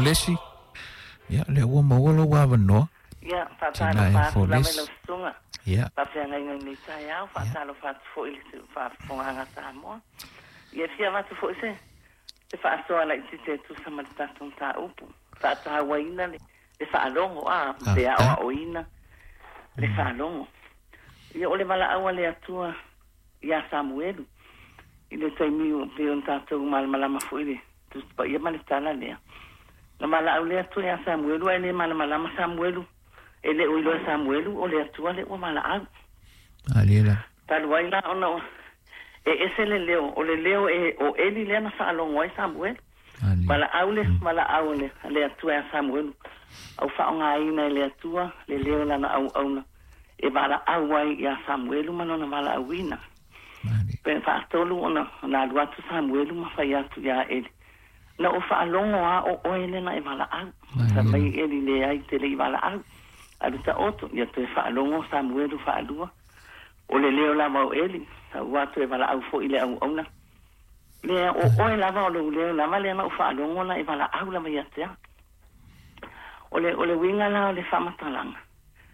Folesi. Ia, lea ua maua lou avanoa. Ia, Tina faatalofa e atu lava i lau Folesi. susuga Ia, faafeagaiga i lenei taeao, faatalofa atu foi i le faafofogaaga a Samoa. Ia, e fia avatu foi se se faasoa laitiiti e tusa ma le tatou mataupu, faatauaina le le faalogo a pe faafetai. aoaoina le faalogo. Ia, o le valaau a le Atua ia Samuelu i le taimi ua pei ona tatou malamalama foi i le Tusi Paia ma le tala lea. Na valaau le Atua ia Samuelu ae le malamalama Samuelu, e le o iloa e Samuelu o le Atua lea ua valaau. Malie lava. Talu ai la ona e ese le leo, o le leo e o Eli lea na faalogo ai Samuelu. Malie. Valaau le valaau a le, a le Atua ia Samuelu, au faaaogaina e le Atua le leo o lana auauna e valaau ai ia Samuelu ma lona valaauina. Malie. Pe faatolu ona ona alu atu Samuelu ma fai atu ia Eli. Na ou faalogo lava o oe lea na e valaau. Fai Malie mai lava. Eli leai te le i valaau. Alu taoto, ia toe faalogo Samuelu faalua. O le leo lava o Eli, sau atu e valaau foi i le auauna. Lea o oe lava o lou leo lava lea na ou faalogo na e valaau lava ia te au. O le uiga la o le faamatalaga.